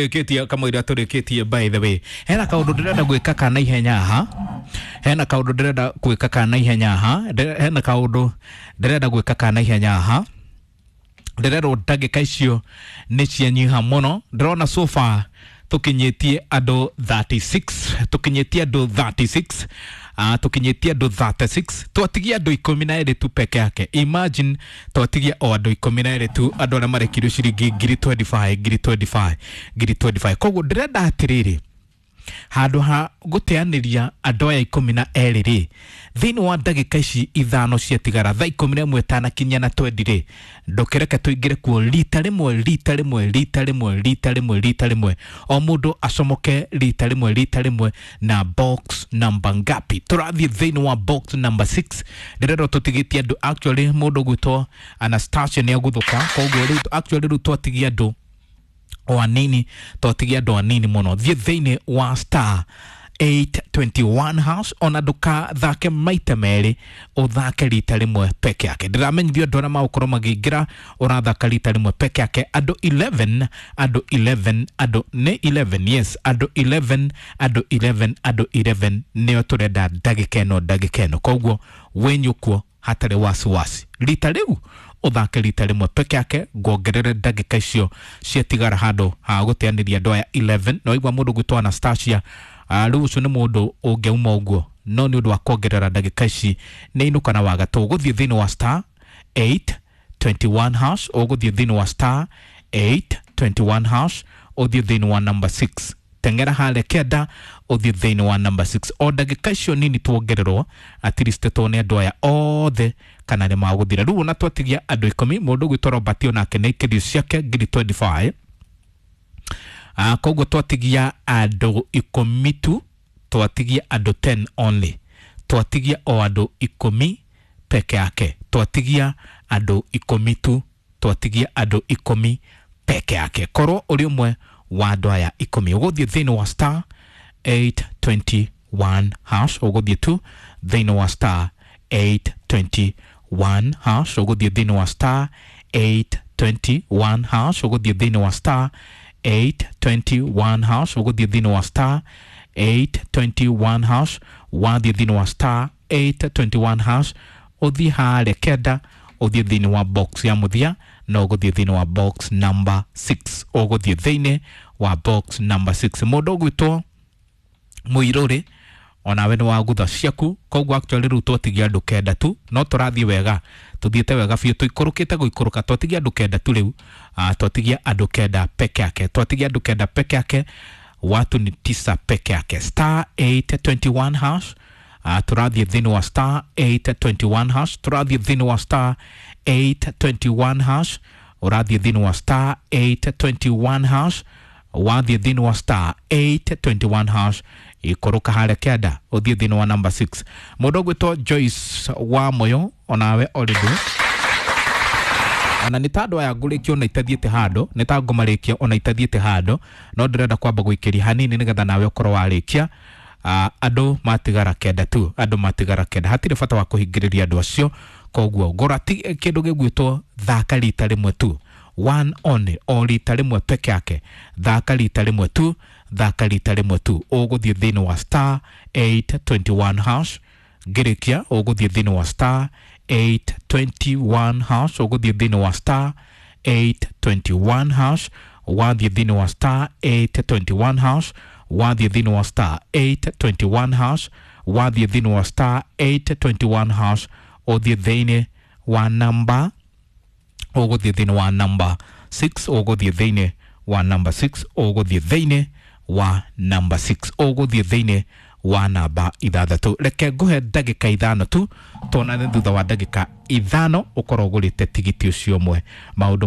Tũrĩkĩtie kamũira tũrĩkĩtie. By the way, hena kaũndũ ndĩrenda gwĩka kana ihenya haha, hena kaũndũ ndĩrenda gwĩka kana ihenya haha, hena kaũndũ ndĩrenda gwĩka kana ihenya haha. Ndĩrerwo ndagĩka icio nĩ cianyiha mũno. Ndĩrona so far tũkinyĩtie andũ 36, tũkinyĩtie andũ 36, tũkinyĩtie andũ 36. Twatigia andũ 12 tu peke yake. Imagine, twatigia o andũ 12 tu, andũ arĩa marekirio ciringi ngiri 25, ngiri 25, ngiri 25. Koguo ndĩrenda atĩrĩrĩ, handũ ha gũteanĩria andũ aya 12 rĩ, thĩinĩ wa ndagĩka ici 5 ciatigara, thaa 11 tanakinyia na twendi rĩ, ndũkĩreke tũingĩre kuo rita rĩmwe, rita rĩmwe, rita rĩmwe, rita rĩmwe, rita rĩmwe, o mũndũ acomoke rita rĩmwe, rita rĩmwe. Na box number ngapi? Tũrathiĩ thĩinĩ wa box number 6. Ndĩrerwo tũtigĩtie andũ, actually mũndũ gwĩtwo Anastasia nĩ aguthũka, koguo rĩu actually rĩu twatigia andũ o anini, twatigia andũ anini mũno. Thiĩ thĩinĩ wa star 821 hash, ona ndũkathake maita merĩ, ũthake rita rĩmwe peke yake. Ndĩramenyithio andũ arĩa magũkorwo makĩingĩra, ũrathaka rita rĩmwe peke yake. Andũ 11, andũ 11, andũ nĩ 11, yes, andũ 11, andũ 11, andũ 11 nĩo tũrenda ndagĩka ĩno, ndagĩka ĩno. Koguo wĩnyũkuo hatarĩ wasiwasi, rita rĩu ũthake rita rĩmwe peke yake, nguongerere ndagĩka icio ciatigara handũ ha gũteanĩria andũ aya 11. No igua mũndũ gwĩtwo Anastasia, rĩu ũcio nĩ mũndũ ũngĩauma ũguo, no nĩ ũndũ wa kuongerera ndagĩka ici nĩ inũka na wagatũ. Ũgũthiĩ thĩinĩ wa star 821 hash, ũgũthiĩ thĩinĩ wa star 821 hash, ũthiĩ thĩinĩ wa number 6, teng'era harĩa kenda, ũthiĩ thĩinĩ wa number 6. O ndagĩka icio nini tuongererwo, at least tuone andũ aya othe kana nĩ magũthira. Rĩu ona twatigia andũ 10. Mũndũ gwĩtwo Robert onake nĩ aikĩrio ciake ngiri 25. Koguo twatigia andũ 10 tu, twatigia andũ 10 only, twatigia o andũ 10 peke yake, twatigia andũ 10 tu, twatigia andũ 10 peke yake. Korwo ũrĩ ũmwe wa andũ aya 10, ũgũthiĩ thĩinĩ wa star 821 hash, ũgũthiĩ tu thĩinĩ wa star 821 hash, ũgũthiĩ thĩinĩ wa star 821 hash, ũgũthiĩ thĩinĩ wa star 821 hash, ũgũthiĩ thĩinĩ wa star 821 hash. Wathiĩ thĩinĩ wa star 821 hash, ũthiĩ harĩa kenda, ũthiĩ thĩinĩ wa box ya mũthia, na ũgũthiĩ thĩinĩ wa box number 6, ũgũthiĩ thĩinĩ wa box number 6. Mũndũ ũgwĩtwo Mũirũrĩ, onawe nĩ wagutha ciaku. Koguo actually rĩu twatigia andũ 9 tu, no tũrathiĩ wega, tũthiĩte wega biũ, tũikũrũkĩte gũikũrũka. Twatigia andũ 9 tu rĩu, twatigia andũ 9 peke yake, twatigia andũ 9 peke yake. Watu ni 9 peke yake. Star 821 hash, tũrathiĩ thĩinĩ wa star 821 hash, tũrathiĩ thĩinĩ wa star 821 hash, ũrathiĩ thĩinĩ wa star 821 hash. Wathiĩ thĩinĩ wa star 821 hash, ikũrũka harĩa kĩanda, ũthiĩ thĩinĩ wa number 6. Mũndũ ũgwĩtwo Joyce wa Moyo, onawe already ona nĩ ta andũ aya ngũrĩkia ona itathiĩte handũ, nĩ ta ngũmarĩkia ona itathiĩte handũ, no ndĩrenda kwamba gũikĩria hanini nĩgetha nawe ũkorwo warĩkia. Andũ matigara 9 tu, andũ matigara 9, hatirĩ bata wa kũhingĩrĩria andũ acio. Koguo ngũra kĩndũ gĩgwĩtwo thaka rita rĩmwe tu, one only, o rita rĩmwe peke yake. Thaka rita rĩmwe tu, thaka rita rĩmwe tu. Ũgũthiĩ thĩinĩ wa star 821 hash. Ngĩrĩkia, ũgũthiĩ thĩinĩ wa star 821 hash, ũgũthiĩ thĩinĩ wa star 821 hash. Wathiĩ thĩinĩ wa star 821 hash, wathiĩ thĩinĩ wa star 821 hash, wathiĩ thĩinĩ wa star 821 hash, ũthiĩ thĩinĩ wa namba, ũgũthiĩ thĩinĩ wa namba 6, ũgũthiĩ thĩinĩ wa namba 6, ũgũthiĩ thĩinĩ wa namba 6, ũgũthiĩ thĩinĩ wa namba 6. Reke ngũhe ndagĩka 5 tu, tuonane thutha wa ndagĩka 5, ũkorwo ũgũrĩte tigiti ũcio ũmwe maũndũ.